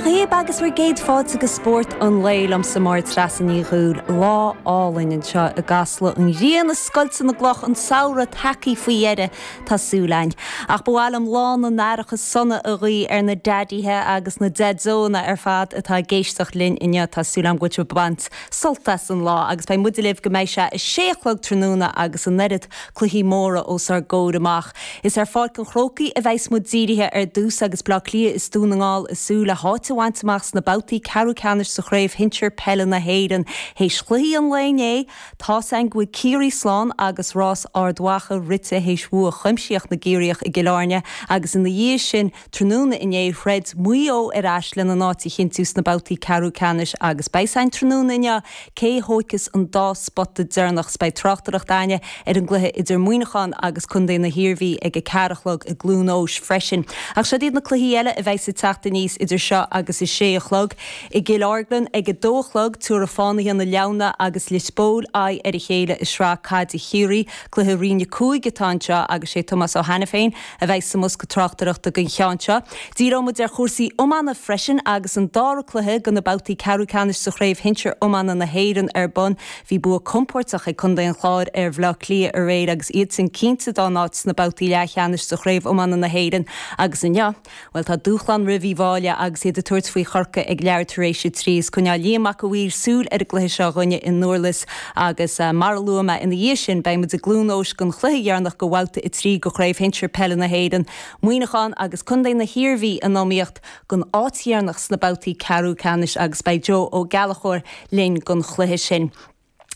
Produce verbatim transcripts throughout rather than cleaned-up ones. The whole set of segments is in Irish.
Dia dhaoibh agus bhur gcéad fáilte go Spórt an Lae liomsa Máire Treasa Ní Dhubhghaill lá álainn anseo i gCasla an ghrian ag scoilteadh na gcloch an samhradh tagtha faoi dheireadh tá súil againn. Ach ba mhaith liom lá na n-aithreacha sona a ghuí ar na daidithe agus na deaideonna ar fad atá ag éisteacht linn inniu tá súil agam go bhfuil sibh ag baint sult as an lá agus beidh muid libh go mbeidh sé a sé a chlog tráthnóna agus an oiread cluichí móra os ár gcomhair amach. Is ar Pháirc an Chrócaigh a bheas muid dírithe ar dtús agus Bleá Cliath is Dún na nGall ag súil le háit a bhaint amach sna babhtaí ceathrú ceannais sa chraobh shinsir peile na hÉireann. Théis chluichí an lae inné tá san go bhfuil Ciarraí slán agus rás Ard Mhacha rite théis bhua chuimsitheach na gCiarraíoch i gCill Airne agus ina dhiaidh sin tráthnóna inné throid Maigh Eo ar ais lena n-áit a chinntiú sna babhtaí ceathrú ceannais agus beidh san tráthnóna inniu cé thógfas an dá spota deireanach beidh tráchtaireacht againne ar an gcluiche idir Muineachán agus Contae na hIarmhí ag a ceathair a chlog i gCluain Eois freisin. Ach seo iad na cluichí eile a bheidh ag teacht aníos idir seo agus a sé a chlog. I gCill Orglan ag a dó a chlog tabharfaidh Fánaithe na Leamhna agus Lios Póil aghaidh ar a chéile i sraith caide Chiarraí, cluiche roinn a cúig atá anseo agus sé Tomás Ó Hainiféin a bheidh sa mbosca tráchtaireachta don cheann seo. Díreoidh muid ar chúrsaí iomána freisin agus an dara cluiche de na babhtaí ceathrú ceannais sa chraobh shinsir iomána na hÉireann ar bun. Bhí bua compordach ag Contae an Chláir ar Bhleá Cliath aréir agus iadsan cinnte dá n-áit sna babhtaí leathcheannais sa chraobh iomána na hÉireann agus inniu. Well tá dúshlán roimh Uíbh Fhailí agus iad ag tabhairt faoi Chorcaigh ag leathuair tar éis a trí is coinneoidh Liam Mac a' Mhaoir súil ar an gcluiche seo dhúinne i nDurlas agus uh, mar a luaigh mé ina dhiaidh sin beidh muid i gCluain Eois don chluiche deireanach de bhabhta a trí de chraobh shinsir peile na hÉireann, Muineachán agus Contae na hIarmhí in iomaíocht don áit dheireanach sna babhtaí ceathrú ceannais agus beidh Joe Ó Gallchóir linn don chluiche sin.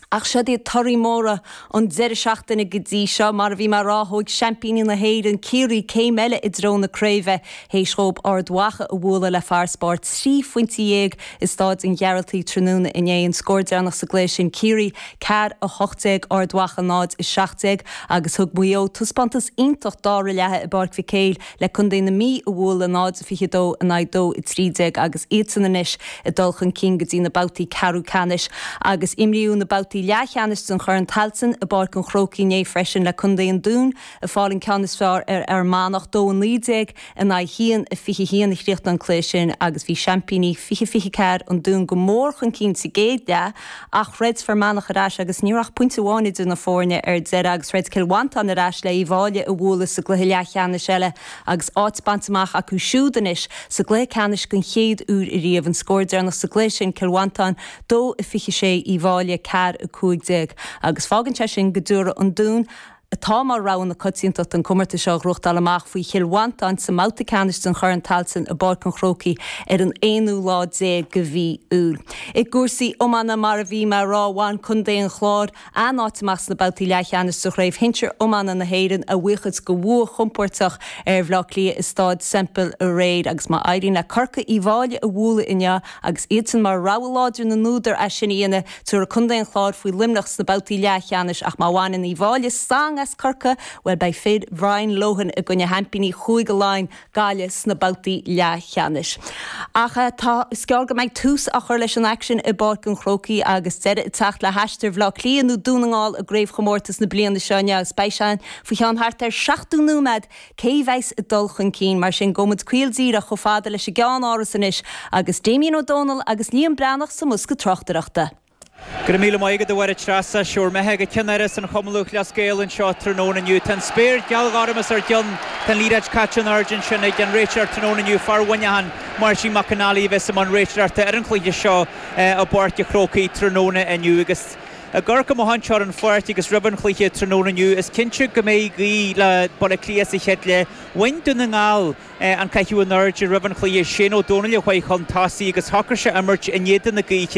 Ach seo iad torthaí móra an deireadh seachtaine go dtí seo mar a bhí mé ag rá thóg seaimpíní na hÉireann Ciarraí céim eile i dtreo na craoibhe théis dóibh Ard Mhacha a bhualadh le farasbarr trí phointe dhéag i Staid an Ghearaltaigh tráthnóna inné an scór deireanach sa gcluiche sin Ciarraí ceathair a hocht déag Ard Mhacha náid a seacht déag agus thug Maigh Eo taispeántas iontach dara leath i bPáirc Mhic Éil le Contae na Mí a bhualadh náid a fiche dó in aghaidh dó a trí déag agus iadsan anois ag dul chun cinn go dtí na babhtaí ceathrú ceannais agus imríodh na babhtaí leathcheannais den Chorn Tailteann i bPáirc an Chrócaigh inné freisin le Contae an Dúin ag fáil an ceann is fearr ar Fhear Manach dó a naoi déag in aghaidh haon a fiche haon a chríochnaigh an cluiche sin agus bhí seaimpíní fiche fiche ceathair an Dún go mór chun cinn sa gcéad leath ach throid Fear Manach ar ais agus ní raibh ach pointe amháin idir na foirne ar deireadh agus throid Cill Mhantáin ar ais le Uíbh Fhailí a bhualadh sa gcluiche leathcheannais eile agus áit bainte amach acu siúd anois sa gcluiche ceannais den chéad uair ariamh an scór deireanach sa gcluiche sin Cill Mhantáin dó a fiche sé Uíbh Fhailí ceathair a cúig déag agus fágann sé sin go dtabharfaidh an Dún atá mar rogha na coitiantachta an comórtas seo a ghnóthachtáil amach faoi Chill Mhantáin sa mbabhta ceannais den Chorn Tailteann i bPáirc an Chrócaigh ar an aonú lá déag de mhí Iúil. I gcúrsaí iomána mar a bhí mé ag rá bhain Contae an Chláir a n-áit amach sna babhtaí leathcheannais sa chraobh shinsir iomána na hÉireann a bhuíochas do bhua chompordach ar Bhleá Cliath i Staid Semple aréir agus má éiríonn le Corcaigh Uíbh Fhailí a bhualadh inniu agus iadsan mar rogha láidir na n-údar as sin a dhéanamh tabharfaidh Contae an Chláir faoi Luimneach sna babhtaí leathcheannais ach má bhaineann Uíbh Fhailí stangadh as Corcaigh well beidh fir Brian Lohan i gcoinne sheaimpíní Chúige Laighean Gaillimh sna babhtaí leathcheannais. Ach eh, tá is gearr go mbeidh tús á chur leis an aicsean i bPáirc an Chrócaigh agus deireadh ag teacht le haistear Bhleá Cliath nó Dún na nGall i gcraobhchomórtas na bliana seo agus beidh sé faoi cheann thart ar seachtó nóiméad cé bheas ag dul chun cinn mar sin gabhfaidh muid caol díreach chomh fada leis an gceannáras anois agus Damien Ó Dónaill agus Liam Breathnach sa mbosca tráchtaireachta. Go raibh míle maith agat a Mháire Treasa seo imithe go ceannáras an Chumann Lúthchleas Gael anseo tráthnóna inniu. Tá an spéir gealghorm os ár gcionn Tá an liathróid caite in airde ansin ag an réiteoir tráthnóna inniu fear Mhuineacháin Máirtín Mac Con Ali a bheas i mbun réiteoireachta ar an chluiche seo i bPáirc an Chrócaigh tráthnóna inniu agus ag amharc amach anseo ar an pháirc agus roimh an chluiche tráthnóna inniu is cinnte go mbeidh gaoth le Baile Átha Cliath sa chéad leath. Bhain Dún na nGall an caitheamh in airde roimh an chluiche Shane Ó Dónaill a chuaigh chun tosaigh agus shocraigh sé imirt in éadan na gaoithe.